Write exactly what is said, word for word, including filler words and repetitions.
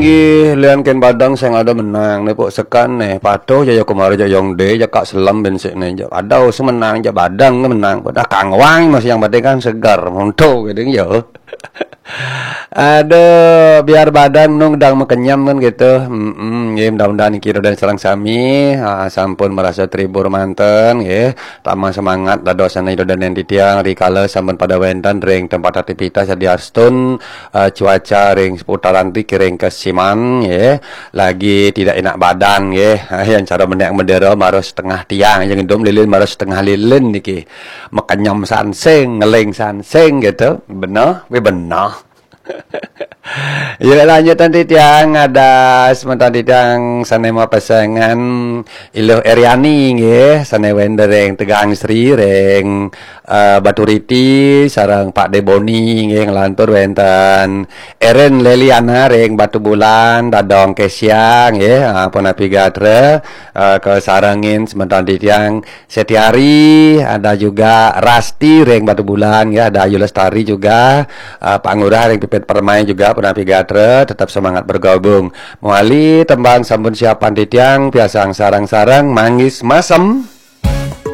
Ih, lian ken badang sing ada menang ne, pok sekan ne. Patuh ja, ya kemarin ja yang de, ja kak selam ben sik ne. Ja ada sing menang, ja badang ne menang. Pada kangwang masih yang penting kan segar, monto gitu ya. Aduh, biar badan nung dang makenyem kan gitu. Mm-mm, ya, mudah-mudahan niki dan sareng sami, ah, sampun merasa terhibur manten, ya. Tambah semangat dados anak ida dan titiang rikala sampun pada wenten ring tempat aktivitas, yadiastun, eh, cuaca ring seputaran ti kiring kesiman, ya. Lagi tidak enak badan, ya. Yang cara menek medera marah setengah tiang, yang hidup lilin marah setengah lilin niki. Makenyem sansing, ngeling sansing gitu. Bener, wi bener. Ya, lanjutan titiang ada semeton titiang sane mapesengan Iluh Eriani nggih, sane wenten ring Tegang Sri ring, eh, Baturiti, sareng Pak Deboni nggih, nglantur wenten Eren Leliana ring Batubulan, Dadong Kesia nggih, ah, punapi gatra, eh, kasarengin semeton titiang Setiari, ada juga Rasti ring Batubulan, ya, ada Ayu Lestari juga, eh, Pak Ngurah ring Pipit Permai juga, punapi gatra, tetap semangat bergabung. Mawali tembang sampun siapan titiang, piarsang sareng-sareng, manggis masem.